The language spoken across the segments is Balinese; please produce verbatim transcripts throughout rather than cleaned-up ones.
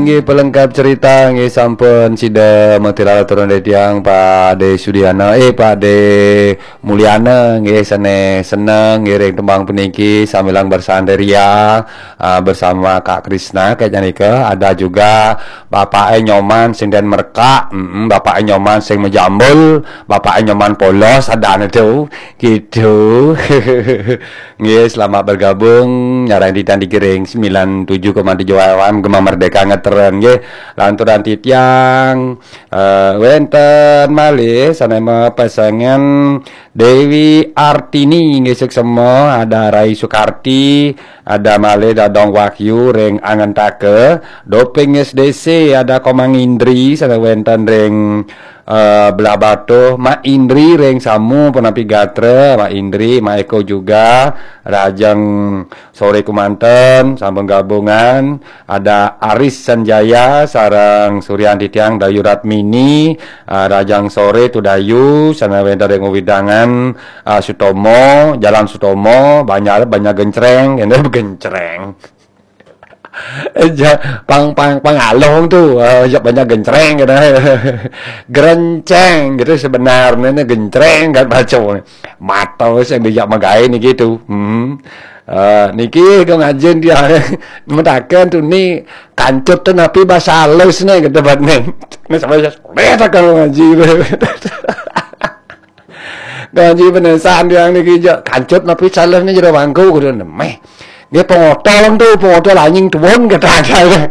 Nggih, pelengkap cerita nggih sampun sida maturang turun dari tiang Pak De Sudiana, eh, Pak De Mulyana nggih, sane seneng nggih ring tembang puniki sambilang bersantai ria, ah, bersama Kak Krisna kayak nika. Ada juga Bapak Nyoman sing den merekak, mm, Bapak Nyoman sing mejambul, Bapak Nyoman polos ada itu gitu. Nggih, selamat bergabung nyarang titan di Giring sembilan tujuh koma tujuh F M Gema Merdeka ngetren nggih. Lanturan titiang, eh, wenten malih sane mapesengan Dewi Artini nggih, suksema, ada Rai Sukarti, ada malih Dadong Wahyu ring Angentaka, Doping S D C, ada Komang Indri sane wenten ring eh, Belah Batuh, Mak Indri ring Samu punapi gatra, Mak Indri, Mak Eko juga, Rajang sore kumanten, sampun gabungan, ada Aris Sanjaya, sareng Suryan Titiang, Dayu Ratmini, eh, Rajang sore Tudayu, sana wenten ring wewidangan, eh, Sutomo, Jalan Sutomo, banyak, banyak gencreng, ini gencreng. Ja, pang, pang, pang along tu, eh, ya banyak gencreng gitu. Gerenceng gitu sebenarnya, gencreng kan baca. Mata sing dijak magae niki tu. Hmm. Eh, niki kau ngajin dia mentakan tu ni kancut tu napi bahasa halus ni gitu bat ni. Ni sampai saya boleh tak kalau ngaji. Ngaji penesan tiang niki jak kancut napi salah ni jero bangku kudu nemeh. Dia pengotol tu, pengotol anjing tuun kata ada.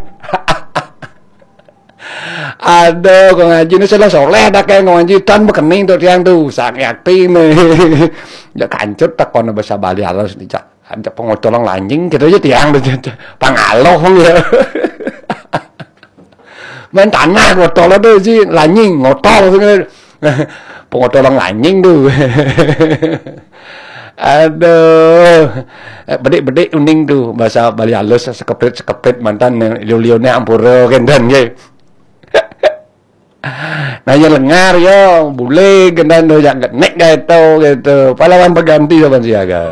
Aduh, kau ngaji ni salah soleh dah kayak ngaji tan bekening tu tiang tu, sakit hati ni. Jak kancut tak kau bahasa Bali halus ni, cak. Ada pengotol lanjing kita aja tiang tu, cak. Pangaloh ya. Main tanah ngotol tu si lanying, ngotol tu. Pengotol lanjing tu. Aduh. Eh, bedik-bedik uning tu bahasa Bali halus sekeprit-sekeprit mantan liu-liune ampura kenten nggih. Nanya lengar ya, bule kenten tu jak genek gae tu gitu. Pahlawan pengganti saban siaga.